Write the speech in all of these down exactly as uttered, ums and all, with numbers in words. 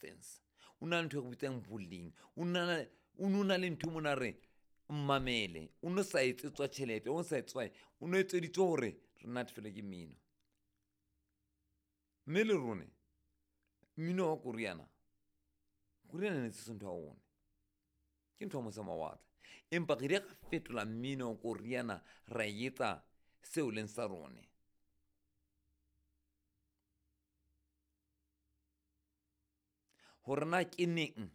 Substance, o na le ntho e re bitsang boleng, o na o no na le ntho mona re mmamele. O no sa etsetswa tjhelete, o sa etsetswa, o no etseditswe hore re natefelwe ke mmino. Mme le rone mmino wa koriana, koriana ne se ntho ya rona, ke ntho ya mose mawatle. Empa re ile ra fetola mmino wa koriana ra etsa seo leng sa rone. Hore na ke neng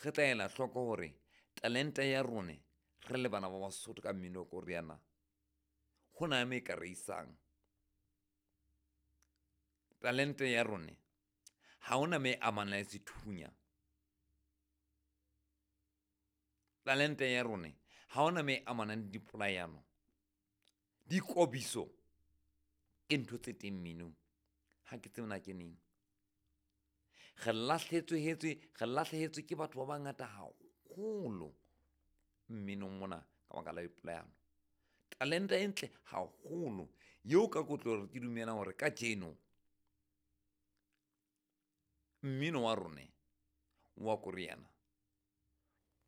re tla ela hloko hore talente ya rone re le bana ba Basotho ka mmino wa koriana, ho na mo e ka re isang. Talente ya rone ha hona mo e amanang le sethunya. Talente ya rone ha hona mo e amanang le dipolayano. Dikobiso ke ntho tse teng mminong, ha ke tsebe na ke neng. Re lahlehetswe re lahlehetswe ke batho ba bangata haholo mminong mona ka baka la dipolayano. Talente e ntle haholo eo ka kotlo ke dumelang hore kajeno mmino wa rone wa koriana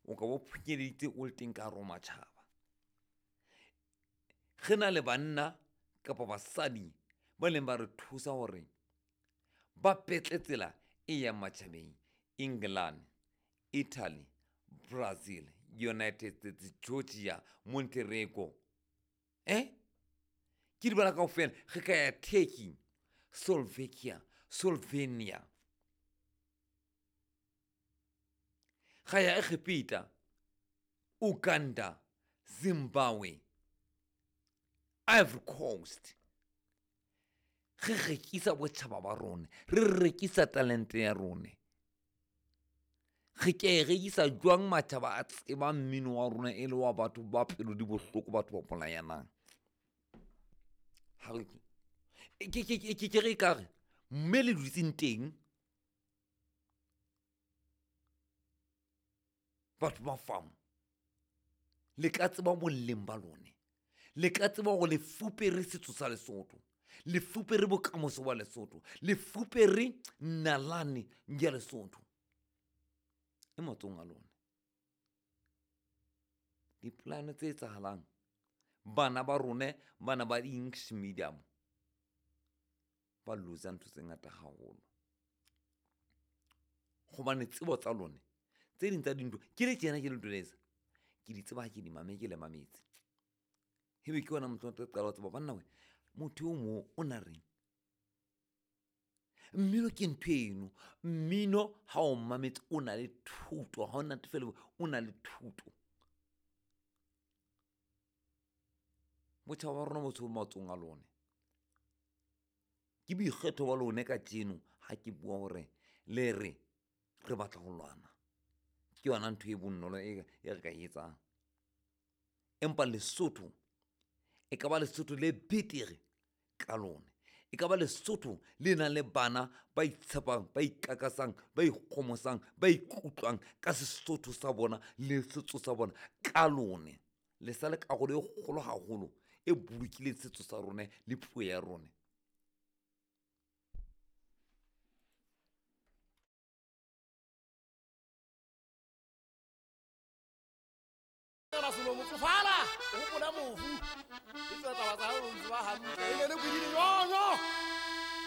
o ka bo phunyelleditse o le teng ka hare ho matjhaba. Re na le banna kapa basadi ba neng ba re thusa hore ba petle tsela e yang matjhabeng. England, Italy, Brazil, United States, Georgia, Montenegro, eh ke di bala kaofela. Re ka ya Turkey, Slovakia, Slovenia, ga ya Egepeta, Uganda, Zimbabwe, Ivory Coast. Re rekisa botjhaba ba rona, re rekisa talente ya rona. Re ke e rekisa jwang matjhaba a tsebang mmino wa rona e le wa batho ba pelo di bohloko, batho ba bolayanang. Ha re ke ke ke ke re ekare mme le dutseng teng batho ba famo, le ka tseba boleng ba lone, le ka tseba hore le fupere setso sa Lesotho, le fupere bokamoso ba Lesotho, le fupere nalane ya Lesotho. E matsohong a lona. Dipolane tse etsahalang, bana ba rone bana ba English medium ba lose-a ntho tse ngata haholo. Hobane tsebo tsa lone tse ding tsa dintho ke le tjena ke le jwetsa, ke di tseba ha ke di mametse, ke le mametse. Ebe ke yona motho o tla qala ho tseba banna we motho o mo o na reng. Mmino ke ntho eno, mmino ha o mametse o na le thuto, ha o natefela o na le thuto. Botjhaba ba rona bo so matsohong a lone. Ke boikgetho ba lone kajeno ha ke bua hore le re re batla ho lwana. Ke yona ntho e bonolo e re ka e etsang. Empa Lesotho e ka ba Lesotho le betere ka lone. E ka ba Lesotho le nang le bana ba itshepang, ba ikakasang, ba ikgomosang, ba ikutlwang ka Sesotho sa bona le setso sa bona ka lone. Le sa le karolo e kgolo haholo e bolokileng setso sa rona le puo ya rona. Rasolo motsofala o hopola mofu e tswa taba tsa hao o tseba hantle e ne le bodile yoyo.